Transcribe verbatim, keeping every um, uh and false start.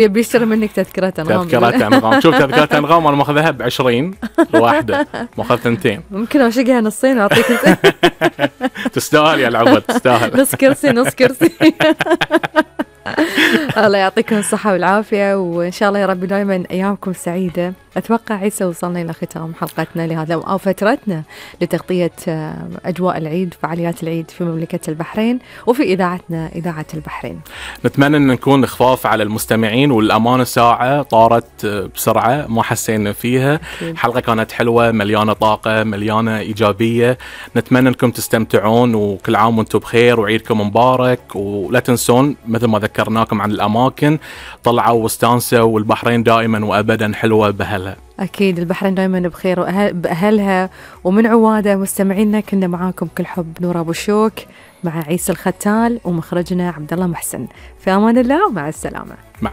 يبي يشتري منك تذكرة أنغام. تذكرة أنغام. شوف تذكرة أنغام أنا ماخذها بعشرين الواحدة، ماخذ ثنتين. ممكن أشقها نصين وأعطيك. تستاهل يا العبد، تستاهل. نص كرسي نص كرسي. الله يعطيكم الصحة والعافية، وإن شاء الله يا رب دائما أيامكم سعيدة. أتوقع عيسى وصلنا إلى ختام حلقتنا لهذا أو فترتنا لتغطية أجواء العيد، فعاليات العيد في مملكة البحرين وفي إذاعتنا إذاعة البحرين. نتمنى أن نكون خفاف على المستمعين، والأمانة ساعة طارت بسرعة ما حسينا فيها. الحلقة كانت حلوة، مليانة طاقة، مليانة إيجابية. نتمنى أنكم تستمتعون، وكل عام وانتم بخير وعيدكم مبارك. ولا تنسون مثل ما ذكرناكم عن الأماكن، طلعوا واستانسوا، والبحرين دائما وأبدا حلوة بأهلها. أكيد البحرين دائما بخير بأهلها ومن عواده. مستمعينا كنا معاكم كل حب، نور أبو شوك مع عيسى الختال ومخرجنا عبد الله محسن. في أمان الله ومع السلامة. مع